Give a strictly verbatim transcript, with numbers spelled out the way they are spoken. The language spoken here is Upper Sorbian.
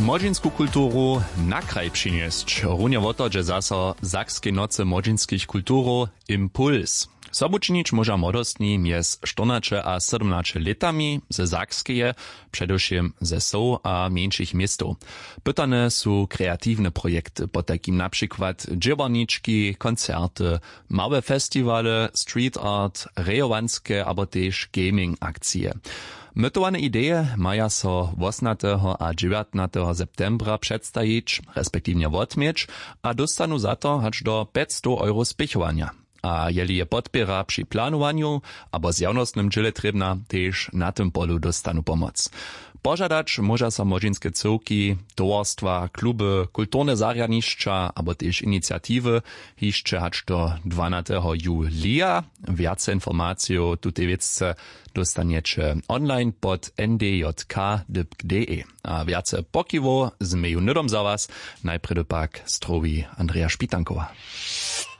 Młodźinsku kulturu na kraj přinjesć, runje wo to dźe zaso w sakskej nocy młodźinskich kulturow impuls. Sobu činić móža młodostni mjez štyrnaće a sydomnaće lětami ze sakskeje, předewšěm ze wsow a mjeńšich městow. Pytane su kreatiwne projekty, potajkim na přikład dźěłarnički, koncerty, małe festiwale, street art, rejowanske abo tež gaming akcije. Mytowane ideje maja so wosomnateho a dźewjatnateho septembra předstajić respektiwnje wotměć, a dóstanu za to hač do pjećstow euro spěchowanja. A jeli je podpěra při planowanju abo zjawnostnym dźěle trěbna, tež na tym polu dóstanu pomoc. Požadać móža so młodźinske cyłki, towarstwa, kluby, kulturne zarjadnišća abo tež iniciatiwy hišće hač do dwanateho julija. Wjace informacijow w tutej wěcce dóstanjeće online pod n d j k dypk d e. A wjace pokiwow změju hnydom za was. Najprjedy pak strowi andreja špitankowa.